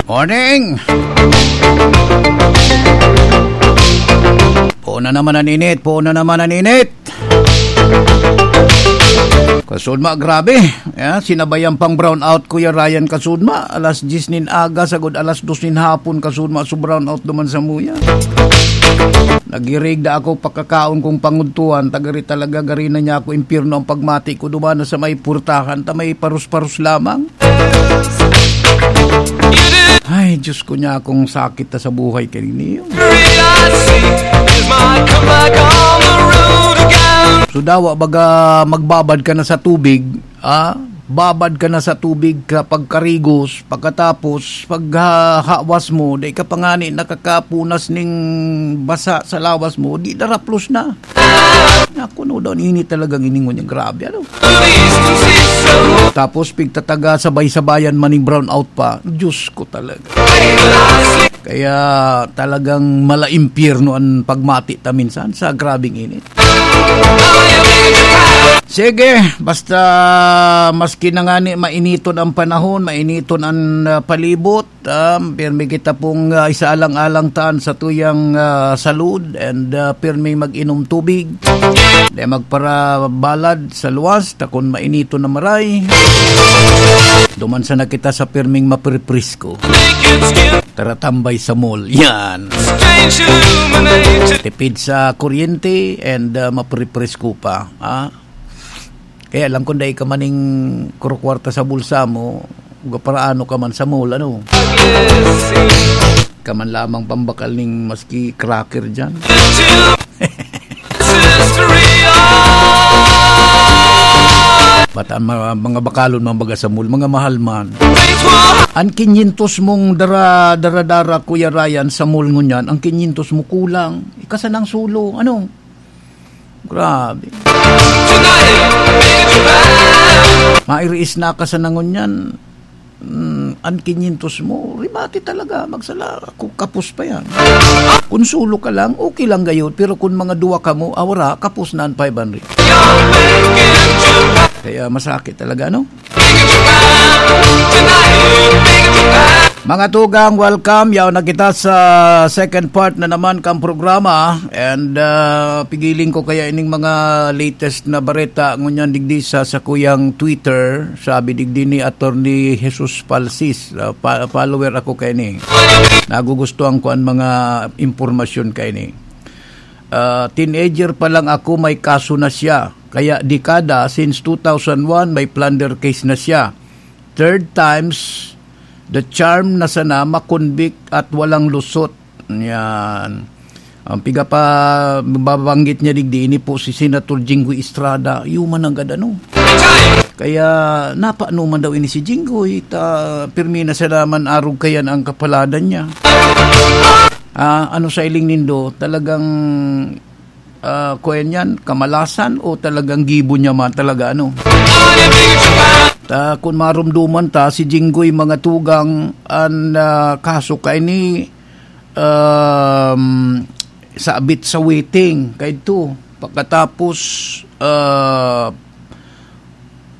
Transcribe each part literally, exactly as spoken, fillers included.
Morning! Puno naman ang init, puno naman ang init. Kasudma, grabe. Ya, sinabayan pang brown out, Kuya Ryan, kasudma. Alas diyes nin aga, sagod alas dos nin hapon, kasudma, so brown out naman sa muya. Nagirig da ako pakakaon kong pangudtuhan, tagari talaga, gari na niya ako impyerno ang pagmati ko, dumana sa may purtahan, ta may parus-parus lamang. Ay, Diyos ko niya, akong sakit na sa buhay kanini. So, dawa, baga magbabad ka na sa tubig, ah? Babad ka na sa tubig kapag karigos, pagkatapos, pag, ah, hawas mo, di ka pa ngani nakakapunas ning basa sa lawas mo, di daraplos na. Naku, no, daw, ini talagang iningon niya. Grabe, ano? Tapos, pigtataga, sabay-sabayan man ning brown out pa. Diyos ko talaga. Kaya talagang mala impyerno ang pagmati ta minsan sa grabing init. Sige, basta maski na ngani mainiton ang panahon, mainiton ang, ah, palibot, um, pirmi kita pong, ah, isaalang-alang taan sa tuyang, ah, salud, and, ah, pirmi mag-inom tubig. Di magparabalad sa luwas, ta kun mainiton na maray, duman sana kita sa pirming mapriprisko. Tara tambay sa mall. Yan. Tipid sa kuryente and, ah, mapriprisko pa. Ah? Kaya lang kung dai ka maning kurukwarta sa bulsa mo, paraano ka man sa mall, ano? Ka man lamang pambakal ning maski cracker dyan. Ba't ang mga, mga bakalon, mga baga sa mall, mga mahal man. Ang kinyentos mong dara, dara-dara, Kuya Ryan, sa mall ngunyan, ang kinyentos mo kulang. Ika sanang sulo, ano? Grabe. Mairiis na ka sana ngunyan. Mm, ang kinyentos mo, rimati talaga, magsala, ku-, kapos pa yan. Kun sulo ka lang, okay lang gayod, pero kun mga duwa kamo, ah, wara, kapos na ang five hundred. Kaya masakit talaga, no? Mga tugang, welcome. Yaw na kita sa second part na naman kang programa. And, ah, pigiling ko kaya ining mga latest na bareta ngunyan digdi sa sakuyang Twitter. Sabi digdi ni Attorney Jesus Palsis, ah, pa-, follower ako kaini. Nagugustuhan ko ang mga impormasyon kaini. Ah, teenager pa lang ako, may kaso na siya. Kaya dekada, since two thousand one, may plunder case na siya. Third times the charm na sana makonvict at walang lusot. Yan. Ang piga pa babanggit niya digdi, ini po si Senator Jinggoy Estrada. Yuman ang gad, ano. Kaya, napaano man daw ini si Jinggoy, ta, pirmi na sana man arog kayan ang kapaladan niya. Ah, ano sa iling nindo, talagang, ah, kuwan yan, kamalasan o talagang gibo niya man talaga, ano? Ta, kun marumduman ta, si Jinggoy mga tugang, an, ah, kaso kaini, um, sabit sa waiting, kaidto. Pagkatapos, ah,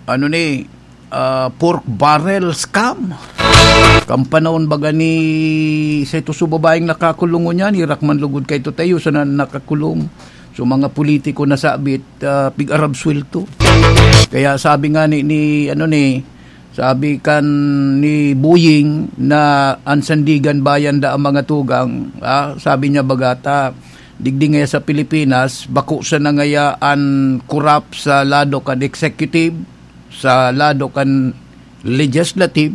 ano ni, ah, pork barrel scam. Kan panahon baga ni, sa ito sa babaeng nakakulong ngunyan, hirak man lugod kaito tayo sa na-, nakakulong. So, mga politiko na sabit, ah, pig-Arab sweldo. Kaya sabi nga ni, ni, ano ni, sabi kan ni Boying na ang Sandigan Bayan da ang mga tugang, ah, sabi niya baga ta, digdi ngaya sa Pilipinas, bako sana ngaya an korap sa lado kan executive, sa lado kan legislative,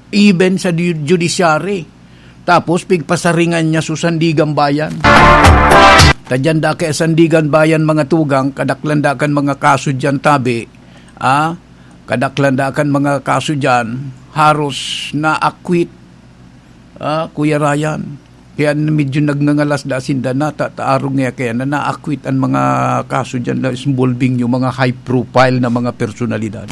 even sa ju-, judiciary. Tapos, pigpasaringan niya su Sandigan Bayan. Tadyan da kay Sandigan Bayan, mga tugang, kadaklan da kan mga kaso diyan, tabi. Ah, kadaklan da kan mga kaso diyan, haros na-acquit, ah, Kuya Ryan. Kaya medyo nagngangalas da sinda na ta-, taarog niya kaya na na-acquit ang mga kaso diyan na involving yung mga high profile na mga personalidad.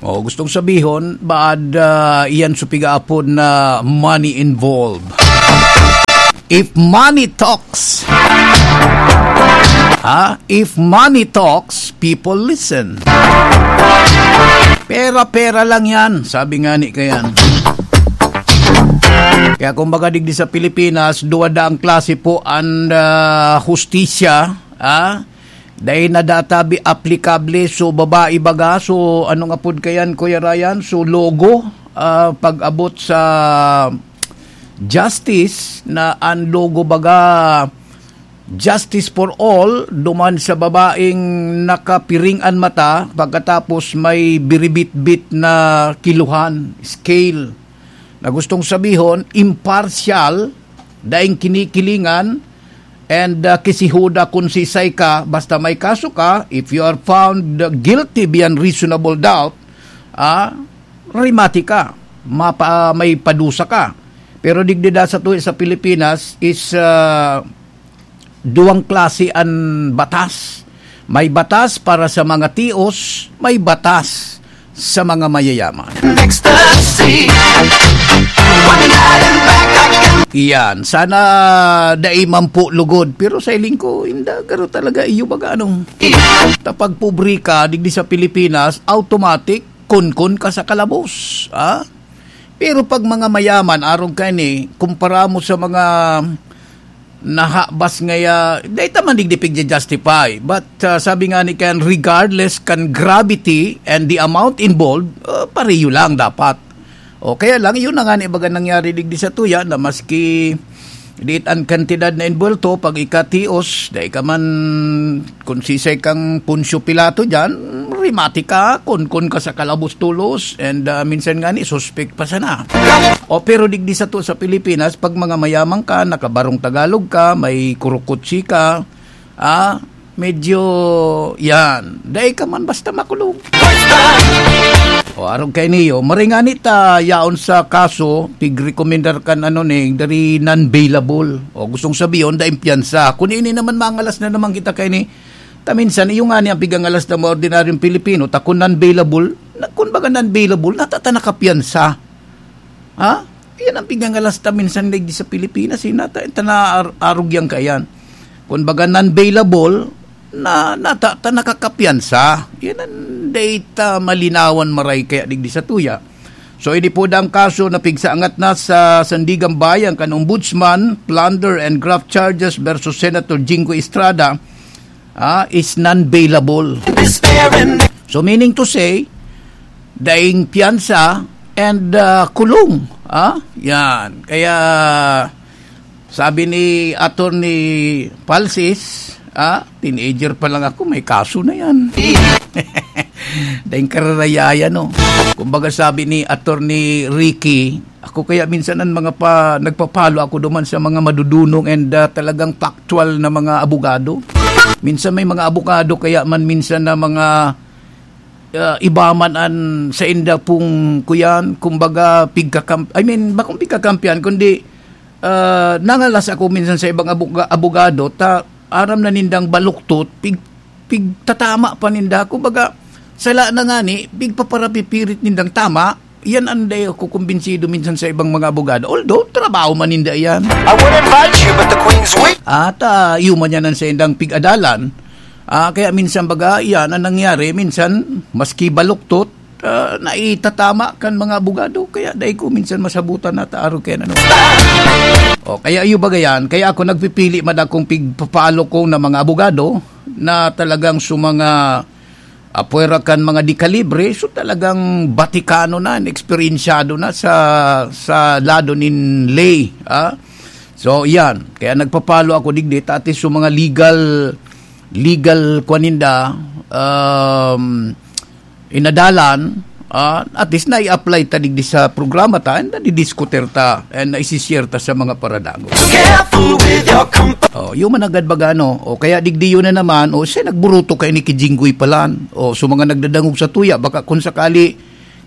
O, gustong sabihon, baad, ah, iyan sa pigaapod na money involved. If money talks, Ah, if money talks, people listen. Pera-pera lang yan, sabi nga ni kayan. Kaya kumbaga, digdi sa Pilipinas, duwa daang klase po an, ah, hustisya, ah, dai na data bi-, aplikable, so babae baga, so ano nga pod kayan, Kuya Ryan, so logo, ah, pag-abot sa justice na an logo baga, justice for all, duman sa babaeng nakapiring an mata pagkatapos may biribitbit na kiluhan, scale, na gustong sabihon, impartial, daing kinikilingan, and, ah, kisihuda kun sisay ka, basta may kaso ka, if you are found guilty beyond reasonable doubt, ah, rimati ka, mapa-, may padusa ka. Pero digdi da sa tuwi sa Pilipinas is, ah, duwang klase an batas. May batas para sa mga tios, may batas sa mga mayayaman. Ecstasy. One night and back again. Iyan, sana dai man po lugod. Pero sa hiling ko, inda, garo talaga iyo baga, ano. Ta pag pobre ka, digdi sa Pilipinas, automatic, kunkun ka sa kalabos. Ha? Pero pag mga mayaman, arog kaini, kumpara mo sa mga nahabas ngaya, dai ta man digdi pigja-justify. But, ah, sabi nga ni Ken, regardless kan gravity and the amount involved, ah, pareho lang dapat. O, kaya lang, yun na nga ni baga nangyari digdi sa tuya, na maski diit an kantidad na involto, pag ikatios, dai ka man, kun sisay kang Poncio Pilato diyan, rimati ka, kunkun ka sa kalabos tolos, and, ah, minsan nga ni, suspek pa sana. O, pero digdi sa to sa Pilipinas, pag mga mayaman ka, nakabarong Tagalog ka, may kurukutsi ka, ah, medyo, yan, dai ka man basta makulong. O, arog kay niyo, maringani ta yaon sa kaso, pigrekomendar kan ano ni, dari non-bailable. O, gustong sabihin, daing piyansa. Kun ini naman, mangalas na naman kita kay ni, ta minsan, iyo nga ni ang pigangalas na mga ordinaryong Pilipino, ta kun non-bailable, na, kun baga non-bailable, natata nakapiyansa. Ha? Yan ang pigangalas ta minsan digdi sa Pilipinas, eh, nata-, ta na ar-, arog yan kaiyan. Kun baga non-bailable, na, nata-, ta nakakapiyansa. Yan ang data malinawan maray kaya digdi sa tuya. So, ini po ang kaso na pigsaangat na sa Sandigan Bayan kan Ombudsman, plunder and graft charges versus Senator Jinggoy Estrada, ah, is non-bailable. So, meaning to say, daing piyansa and, ah, kulong. Ah, yan. Kaya, sabi ni Attorney Palsis, ah, teenager pa lang ako, may kaso na yan. Daing kararayayan, no? Kumbaga sabi ni Attorney Ricky, ako kaya minsan ang mga pa, nagpapalo ako duman sa mga madudunong and, ah, talagang factual na mga abogado. Minsan may mga abogado kaya man minsan na mga, ah, iba man an sainda pong kuyan, kumbaga pigkakam-, I mean, bakong pigkakampihan, kundi, ah, nangalas ako minsan sa ibang abuga-, abogado, ta aram na nindang baluktot, pig-, pigtatama pa ninda. Kumbaga, sala na nga ni, pigpaparapipirit nindang tama, yan ang dai ako kumbinsido minsan sa ibang mga abogado. Although, trabaho man ninda yan. I would invite you, but the Queen's week. At, ah, iyo man yan ang saindang pig-adalan. Ah, kaya minsan baga, yan ang nangyari. Minsan, maski baluktot, ah, naitatama kan mga abogado. Kaya dai ko minsan masabutan na taaro kaya ano. O, kaya iyo baga yan. Kaya ako nagpipili man akong pigpapalo ko na mga abogado na talagang sa mga apwera kan mga dekalibre, so talagang batikano na, eksperyensyado na sa, sa lado nin ley, ah. So, yan. Kaya nagpapalo ako digdi, ta at least sa mga legal, legal, kwan ninda, um, inadalan, ah, at least na-i-apply ta digdi sa programa ta, and nadidiskutir ta, and naisishare ta sa mga paradangog. Careful with your comp- Oh, human agad baga, no? O kaya digdi yun na naman, o siya nagburuto kay ni Kijinggoy palan. O, so mga nagdadangog sa tuya, baka kung sakali,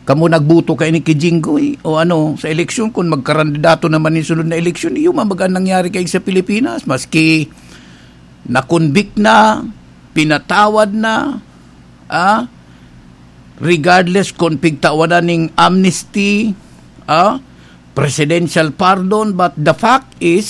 kamo nagbuto kay ni Kijinggoy, o ano, sa eleksyon, kung magkarandidato naman yung sunod na eleksyon, human baga nangyari kay sa Pilipinas, maski na-convict na, pinatawad na, ah, regardless kung pigtawanan ning amnesty, ah, presidential pardon, but the fact is,